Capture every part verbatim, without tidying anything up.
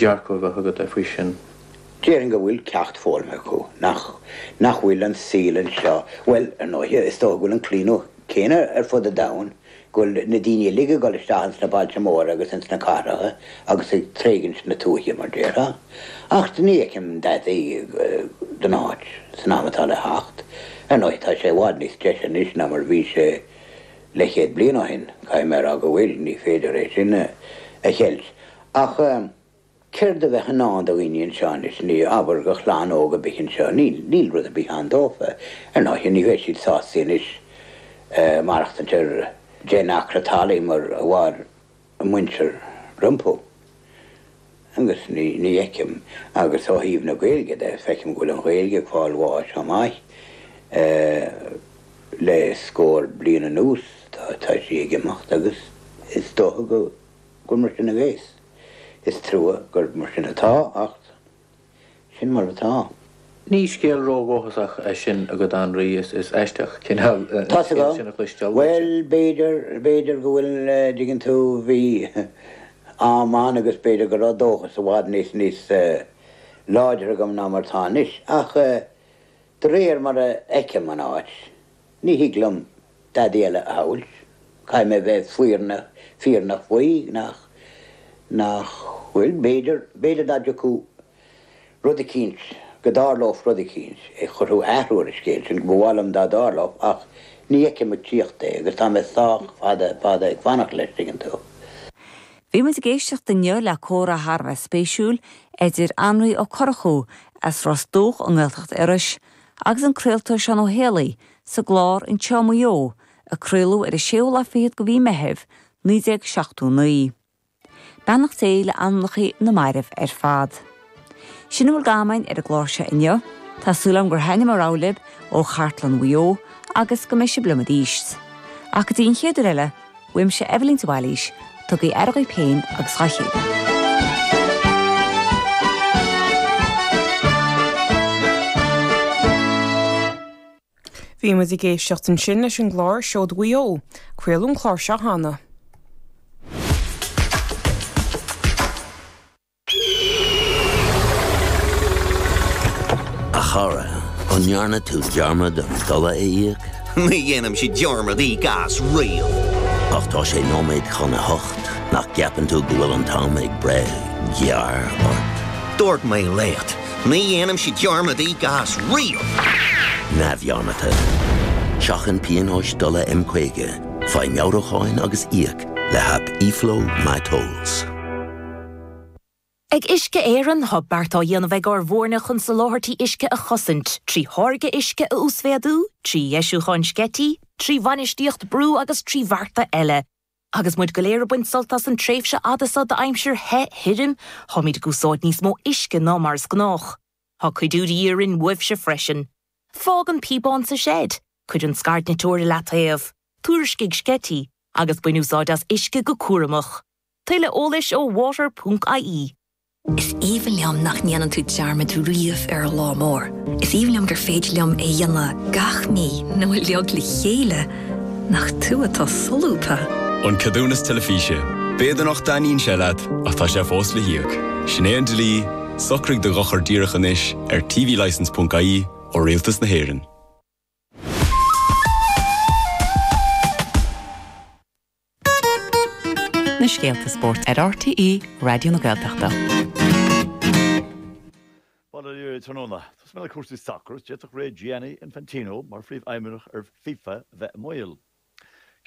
dearcadh a bheith agat faoi sin? Déarfainn go bhfuil ceacht foghlamtha acu, nach, nach bhfuil an saol anseo, bhuel, ar ndóighe, is dócha go bhfuil an claonadh céanna ar fud an domhain, go bhfuil na daoine uilig ag dul isteach ins na bailte móra agus ins na cathracha agus ag tréigint na tuaithe, mar déarfá. Ach ní fheicim dadaí don áit san am atá le theacht. Ar ndóighe, tá sé i bhfad níos deise anois ná mar a bhí sé leathchéad bliain ó shin, caithfidh mé a rá go bhfuil, ní féidir é sin a cheilt. Ach. Céard a bheadh i ndán do dhaoine anseo anois, ní, abair, do chlann óg ar bith anseo, níl, níl rud ar bith ann dófa. Ar ndóighe, ní bheidh siad sásta anois maireachtaint ar deich n-acra talaimh mar a mhair a muintir rompu. Agus ní, ní fheicim, agus ó thaobh na Gaeilge de, feicim go bhfuil an Ghaeilge ag fáil bháis chomh maith le scór bliain anuas, tá, tá sí ag imeacht agus is dócha go, gur mar sin a bheas. Is trua gur mar sin atá, ach sin mar atá. Ní scéal ródhóchasach é sin agat, a Anraí, is aisteach cineál an scéal sin a chloisteáil uaitse. Bhuel, b'fhéidir, b'fhéidir go bhfuil, dtuigeann tú, bhí am ann agus b'fhéidir go raibh dóchas i bhfad níos, níos láidre agam ná mar atá anois, ach de réir mar a fheicim an áit, ní thig liom dadaí eile a shamhailt. Caithfidh mé bheith fírinneach, fírinneach faoi nach, nach bhfuil. B'fhéidir, b'fhéidir dá dtiocfadh rud eicínt, go dtarlódh rud eicínt a chuirfeadh athrú ar an scéal sin, ba mhaith liom dá dtarlódh ach ní fheicim ag tíocht é agus tá mé sách fada, fada ag fanacht leis, tuigeann tú. Bhí muid ag éisteacht inniu le comhrá thar a bheith spéisiúil idir Anraí Ó Murchú as Ros Dumhach i nGaeltacht Iorrais agus an craoltóir Seán Ó Héalaí sa gclár Anseo i Maigh Eo a craoladh ar an séú lá fichead de mhí Meithimh, naoi déag seachtó naoi. Beannacht Dé le anamnacha na mairbh ar fad. Sin a bhfuil d'am againn ar an gclár seo inniu. Tá súil agam gur thaitneamh a raibh libh ó Chartlann Mhaigh Eo agus go mbeidh sibh liom arís. Ach go dtí an chéad uair eile, uaimse Eibhlín de Bhailís, tugaigí aire dhaoibh féin agus dhá chéile. Bhí muid ag éisteacht ansin leis an gclár Seoda Mhaigh Eo. Craoladh an clár seo cheana. A chara, an ndearna tú dearmad an dola a íoc? Ní dhéanaimse dearmad íoc as riamh. Ach tá sé nóiméad chun a hocht, nach gceapann tú go bhfuil an t-am ag breith gearr ort? Dúirt mé leat, ní dhéanaimse dearmad íoc as riamh! Neamhdhearmadta. Seachain pionóis dola M caoga, faigh meabhrúcháin agus íoc le haip eFlow MyTolls. Ag Uisce Éireann, tá beart á dhéanamh ag ár bhfoirne chun soláthairtí uisce a chosaint, trí tháirgeadh uisce a uasmhéadú, trí dheisiúcháin sceití, trí bhainistíocht brú agus trí bhearta eile. Agus muid go léir ag baint sult as an tréimhse fhada seo d'aimsir the thirim, táimid ag úsáid níos mó uisce ná mar is gnách. Tá cuidiú de dhíth orainn uaibhse freisin. Fág an píobán sa seid, cuir an scairdniteoir i leataobh, tuairiscigh sceití, agus bain úsáid as uisce go cúramach. Tuilleadh eolais ó water ponc ie. Is aoibhinn liom nach ndéanann tú dearmad riamh ar an lá mór. Is aoibhinn liom gur féidir liom é a dhéanamh gach mí nó uilig le chéile. Nach tú atá solúbtha! An Ceadúnas Teilifíse. B'fhéidir nach dtaitníonn sé leat, ach tá sé fós le híoc. Sin é an dlí, socraigh do dhochar díreach anois ar tvlicence ponc ie ó Rialtas na hÉireann. Na scéalta spóirt ar RTÉ Raidió na Gaeltachta. Bail ó Dhia oraibh tráthnóna. Tosóidh mé le cúrsaí sacair is d'fhéadfadh ré Gianni Infantino mar phríomhfheidhmeannach ar FIFA a bheith i mbaol.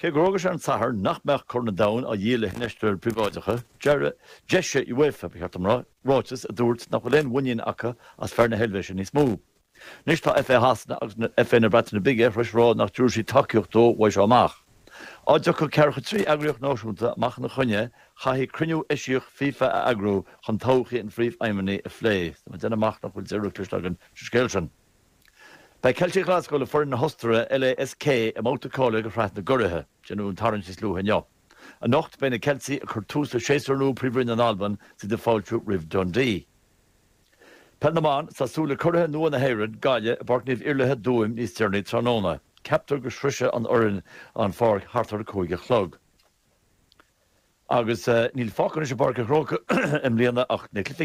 Cé gur fhógair sé ar an Satharn nach mbeadh Corn an Domhain á dhíol le hinfheisteoirí príobháideacha, d'eisigh UEFA, ba cheart dom a rá, ráiteas a dúirt nach bhfuil aon mhuinín acu as fear na hEilvéise níos mó. Anois tá FA Shasana agus FA na Breataine Bige tar éis a rá nach dtabharfaidh siad tacaíocht dó uaidh seo amach. Dá dtiocfadh ceathracha trí eagraíocht náisiúnta amach ina choinne, chaithfí cruinniú eisiach FIFA a eagrú chun todhchaí an phríomhfheidhmeannaigh a phlé. Tá mé ag déanamh amach nach bhfuil deireadh cloiste againn sa scéal sin. Beidh Ceiltigh Ghlaschú le foireann na hOstaire, LASK, i mbabhta cáilithe do Shraith na gCuraithe. Déanadh an tarraingt níos luaithe inniu. Anocht beidh na Ceiltigh ag cur tús le séasúr nua Príomhroinn na hAlban is iad ag fáiltiú roimh Dundee. Peil na mBan, Tá súil le curaithe nua na hÉireann, Gaillimh, i bPáirc Naomh Iarlaithe, Tuaim, níos deireanaí tráthnóna. Ceaptar go sroisfidh an fhoireann an pháirc thart ar a cúig a chlog. Agus níl fágtha anois i bPáirc an Chrócaigh i mbliana ach na cluichí